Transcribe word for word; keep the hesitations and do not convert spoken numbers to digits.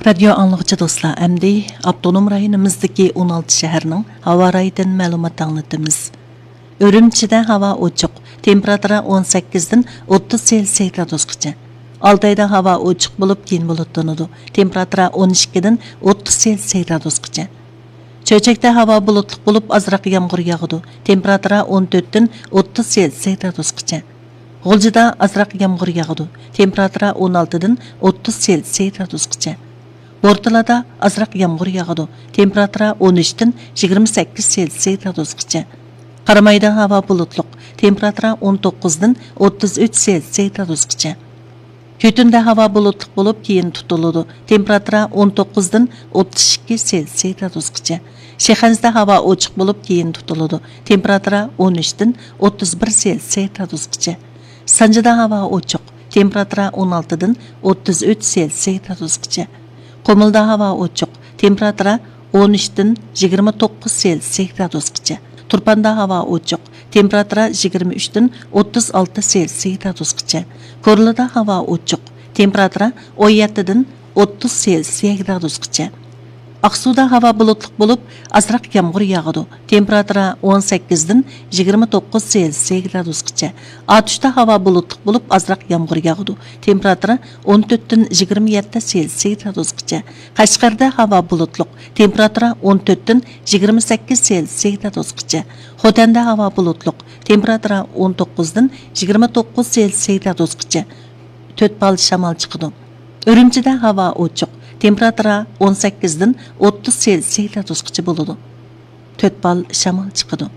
رادىيو ئاڭلىغۇچى دوستلار، ئەمدى ئاپتونوم رايونىمىزدىكى ئون ئالتە شەھەرنىڭ ھاۋا رايىدىن مەلۇمات ئاڭلىتىمىز. ئۈرۈمچىدە ھاۋا ئوچۇق، تېمپېراتۇرا ئون سەككىزدىن ئوتتۇز سېلسىيە گرادۇسقىچە. ئالتايدا ھاۋا ئوچۇق بولۇپ، كېيىن بۇلۇتلىنىدۇ، تېمپېراتۇرا ئون ئىككىدىن ئوتتۇز سېلسىيە گرادۇسقىچە. چۆچەكتە ھاۋا بۇلۇتلۇق بولۇپ، ئازراق يامغۇر ياغىدۇ، تېمپېراتۇرا ئون تۆتتىن ئوتتۇز سېلسىيە گرادۇسقىچە. غۇلجىدا ئازراق يامغۇر ياغىدۇ، تېمپېراتۇرا ئون ئالتىدىن ئوتتۇز سېلسىيە گرادۇسقىچە. بورتالادا ئازراق يامغۇر ياغىدۇ، تېمپېراتۇرا ئون ئۈچتىن يىگىرمە سەككىز سېلسىيە گرادۇسقىچە. قارامايدا ھاۋا بۇلۇتلۇق، تېمپېراتۇرا ئون توققۇزدىن ئوتتۇز ئۈچ سېلسىيە گرادۇسقىچە. كۈتۈندە ھاۋا بۇلۇتلۇق بولۇپ، كېيىن تۇتۇلىدۇ، تېمپېراتۇرا ئون توققۇزدىن ئوتتۇز ئىككى سېلسىيە گرادۇسقىچە. شىخەنزىدە ھاۋا ئوچۇق بولۇپ، كېيىن تۇتۇلىدۇ، تېمپېراتۇرا ئون ئۈچتىن ئوتتۇز بىر سېلسىيە گرادۇسقىچە. سانجىدا ھاۋا ئوچۇق، تېمپېراتۇرا ئون ئالتىدىن ئوتتۇز ئۈچ سېلسىيە گرادۇسقىچە. قۇمۇلدا ھاۋا ئوچۇق، تېمپېراتۇرا ئون ئۈچتىن يىگىرمە توققۇز سېلسىيە گرادۇسقىچە. تۇرپاندا ھاۋا ئوچۇق، تېمپېراتۇرا يىگىرمە ئۈچتىن ئوتتۇز ئالتە سېلسىيە گرادۇسقىچە. كورلىدا ھاۋا ئوچۇق، تېمپېراتۇرا ئون يەتتىدىن ئوتتۇز سېلسىيە گرادۇسقىچە. ئاقسۇدا ھاۋا بۇلۇتلۇق بولۇپ، ئازراق يامغۇر ياغىدۇ، تېمپېراتۇرا ئون سەككىزدىن يىگىرمە توققۇز سېلسىيە گرادۇسقىچە. ئاتۇشتا ھاۋا بۇلۇتلۇق بولۇپ، ئازراق يامغۇر ياغىدۇ، تېمپېراتۇرا ئون تۆتتىن يىگىرمە يەتتە سېلسىيە گرادۇسقىچە. قەشقەردە ھاۋا بۇلۇتلۇق، تېمپېراتۇرا ئون تۆتتىن يىگىرمە سەككىز سېلسىيە گرادۇسقىچە. خوتەندە ھاۋا بۇلۇتلۇق، تېمپېراتۇرا ئون توققۇزدىن يىگىرمە توققۇز سېلسىيە گرادۇسقىچە. تۆت بال شامال چىقىدۇ. ئۈرۈمچىدە ھاۋا ئوچۇق، تېمپېراتۇرا ئون سەككىزدىن ئوتتۇز سېلسىيە گرادۇسقىچە بولىدۇ. تۆت بال شامال چىقىدۇ.